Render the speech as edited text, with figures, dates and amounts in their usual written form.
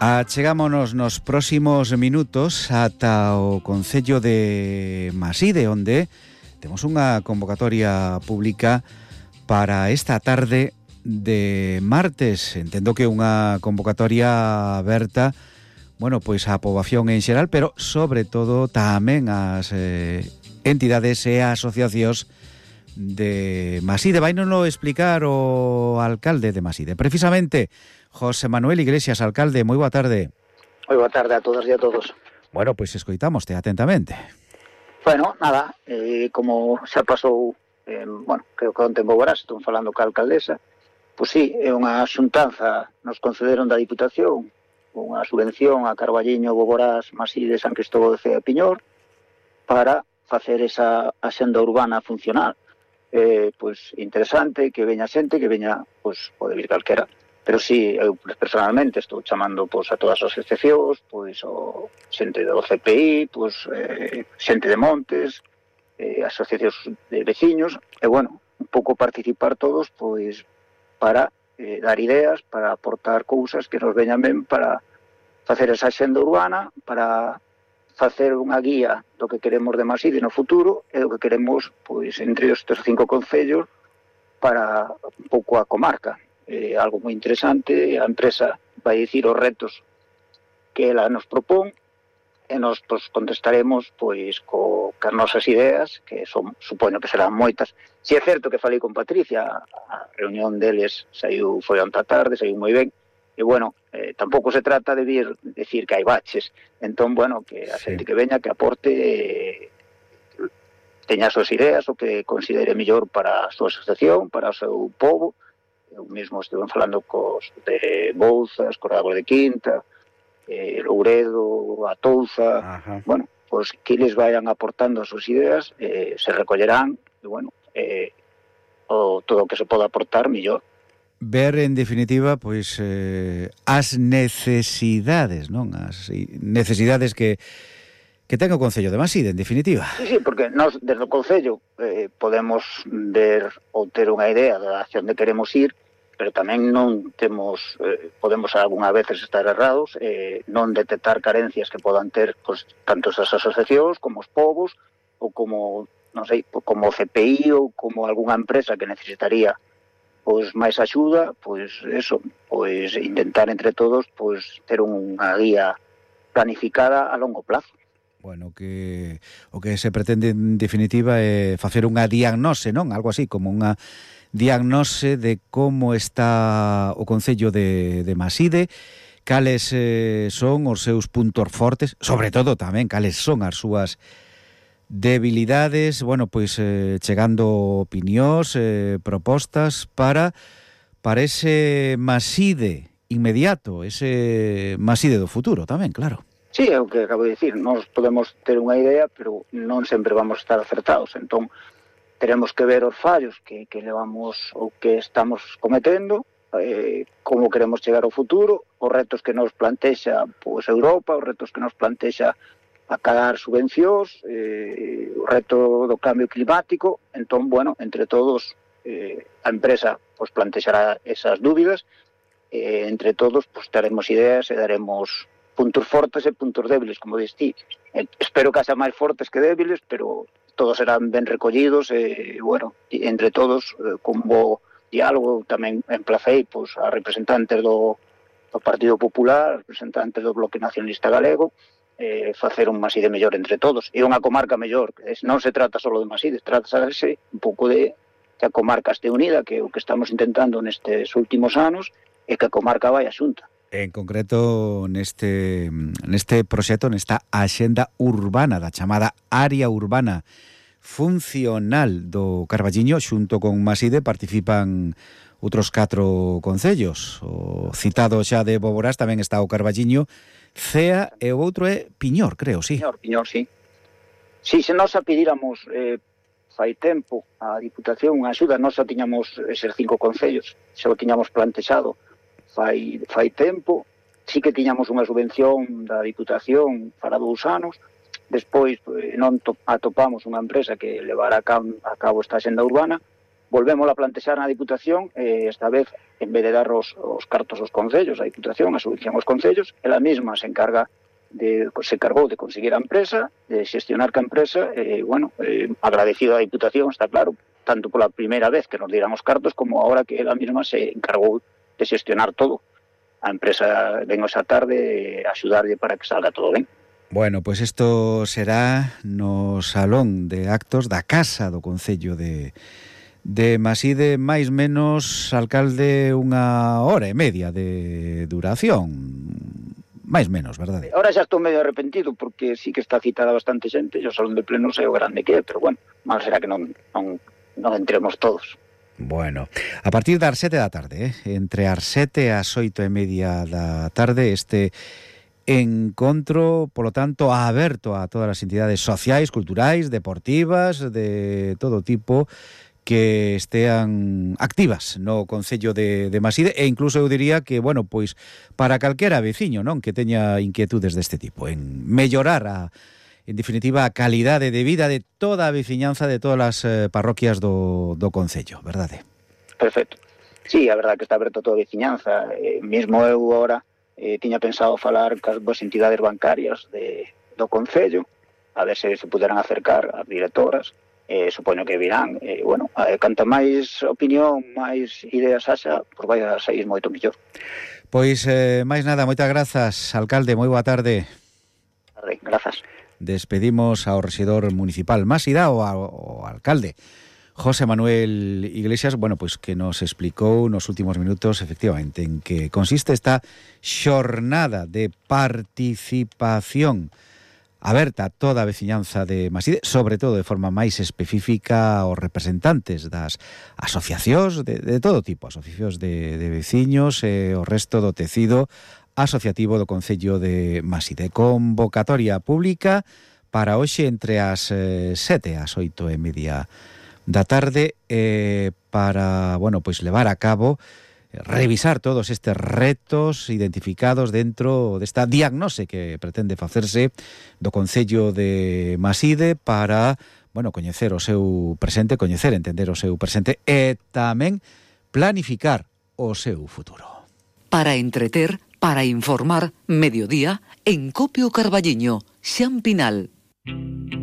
Achegámonos nos próximos minutos ata o Concello de Maside, onde temos unha convocatoria pública para esta tarde de martes. Entendo que unha convocatoria aberta, bueno, pois á poboación en xeral, pero sobre todo tamén ás entidades e asociacións de Maside. Vainolo explicar o alcalde de Maside, precisamente José Manuel Iglesias. Alcalde, moi boa tarde. Moi boa tarde a todas e a todos. Bueno, pois escoitámoste atentamente. Bueno, nada, como xa pasou, creo que onte en Boborás, estón falando ca alcaldesa, pois sí, é unha xuntanza, nos concederon da Diputación, unha subvención a Carballiño, Boborás, Maside, San Cristóbal de Cea e Piñor, para facer esa axenda urbana funcional. Pois interesante, que veña xente, que veña, pois pode vir calquera. Pero sí, eu personalmente estou chamando pois, a todas as asociacións, pois, o xente do CPI, pois, xente de Montes, asociacións de veciños, e, bueno, un pouco participar todos, pois, para dar ideas, para aportar cousas que nos veñan ben para facer esa xenda urbana, para facer unha guía do que queremos de Maside no futuro e do que queremos, pois, entre estes 5 concellos para un pouco a comarca. Algo moi interesante, a empresa vai dicir os retos que ela nos propón e nos pois, contestaremos pois cas nosas ideas, que son, supoño que serán moitas. Si é certo que falei con Patricia, a reunión deles foi onte a tarde, saiu moi ben, e bueno, tampouco se trata de vir decir que hai baches, entón, bueno, que a xente que veña, que aporte, teña as súas ideas, o que considere mellor para a súa asociación, para o seu povo. Eu mesmo estuve falando cos de Bouzas, cos de Quinta, Louredo, a Touza. Bueno, pois que eles vayan aportando as súas ideas, se recollerán, e bueno, todo o que se poda aportar, mellor. Ver, en definitiva, pois as necesidades, non? As necesidades que ten o Concello de Maside, en definitiva. Sí, porque nós, desde o Concello, podemos ver ou ter unha idea da acción de queremos ir, pero tamén non temos, podemos algunha veces estar errados, non detectar carencias que podan ter pois, tanto as asociacións como os povos, ou como, non sei, como o CPI ou como algunha empresa que necesitaría pois máis axuda, pois eso, pois intentar entre todos pois ter unha guía planificada a longo plazo. Bueno, que o que se pretende en definitiva é facer unha diagnose, non? Algo así, como unha diagnose de como está o Concello de Maside, cales son os seus puntos fortes, sobre todo tamén cales son as súas debilidades, bueno, pois chegando opinións, propostas para ese Maside inmediato, ese Maside do futuro tamén, claro. Sí, é o que acabo de dicir, nós podemos ter unha idea, pero non sempre vamos a estar acertados, entón teremos que ver os fallos que levamos ou que estamos cometendo, como queremos chegar ao futuro, os retos que nos plantexa pois, Europa, os retos que nos plantexa acabar subvencións, o reto do cambio climático. Entón, bueno, entre todos, a empresa pois, plantexará esas dúbidas, entre todos pois, teremos ideas e daremos puntos fortes e puntos débiles, como dis ti. Espero que haxa máis fortes que débiles, pero todos serán ben recollidos e, bueno, entre todos, con bo diálogo, tamén emplacei pois, a representantes do Partido Popular, a representantes do Bloque Nacionalista Galego, facer un Maside mellor entre todos, e unha comarca mellor. Non se trata só de Maside, trata-se un pouco de que a comarca este unida, que é o que estamos intentando nestes últimos anos, e que a comarca vai a xunta. En concreto, neste proxecto, nesta axenda urbana, da chamada área urbana funcional do Carballiño, xunto con Maside, participan outros 4 concellos. O citado xa de Boborás tamén está o Carballiño, Cea e o outro é Piñor, creo, sí. Piñor, sí. Si, se nós a pedíramos fai tempo a Diputación unha axuda, nós xa tiñamos eses 5 concellos, xa o tiñamos plantexado fai tempo, sí que tiñamos unha subvención da Diputación para 2 anos, despois non atopamos unha empresa que levara a cabo esta axenda urbana, volvemos a plantexar na Diputación, esta vez, en vez de dar os cartos aos concellos, a Diputación, a subvención aos concellos, ela mesma se encargou de conseguir a empresa, de xestionar ca empresa, agradecido a Diputación, está claro, tanto pola primeira vez que nos dieran os cartos, como ahora que ela mesma se encargou de xestionar todo. A empresa ven esa tarde a axudarlle para que salga todo ben. Bueno, pois isto será no Salón de Actos da Casa do Concello de Maside, máis menos, alcalde, 1h30 de duración. Máis menos, verdade? Ahora xa estou medio arrepentido, porque sí que está citada bastante xente, e o Salón de Plenos é o grande que é, pero bueno, mal será que non entremos todos. Bueno, a partir das 7 da tarde, entre as 7 e as 8:30 da tarde, este encontro, polo tanto, aberto a todas as entidades sociais, culturais, deportivas, de todo tipo, que estean activas no Concello de Maside, e incluso eu diría que, bueno, pois para calquera veciño, non, que teña inquietudes deste tipo, en mellorar en definitiva, a calidade de vida de toda a veciñanza de todas as parroquias do Concello, verdade? Perfecto. Sí, a verdade que está aberto a toda a veciñanza. Mesmo eu agora tiña pensado falar cas entidades bancarias do Concello, a ver se puderan acercar as directoras. Supoño que virán. Canta máis opinión, máis ideas haxa, pois vai a sair moito mellor. Pois, máis nada, moitas grazas, alcalde, moi boa tarde. Grazas. Despedimos ao rexedor municipal Masida, o alcalde José Manuel Iglesias, bueno, pois que nos explicou nos últimos minutos efectivamente en que consiste esta xornada de participación aberta a toda a veciñanza de Maside, sobre todo de forma máis específica aos representantes das asociacións de todo tipo, asociacións de veciños e o resto do tecido asociativo do Concello de Maside. Convocatoria pública para hoxe entre as 7 e as 8:30 da tarde para, bueno, pois levar a cabo, revisar todos estes retos identificados dentro desta diagnose que pretende facerse do Concello de Maside para, bueno, coñecer o seu presente, coñecer, entender o seu presente e tamén planificar o seu futuro. Para entreter, para informar, Mediodía en Copio Carballiño, Xan Pinal.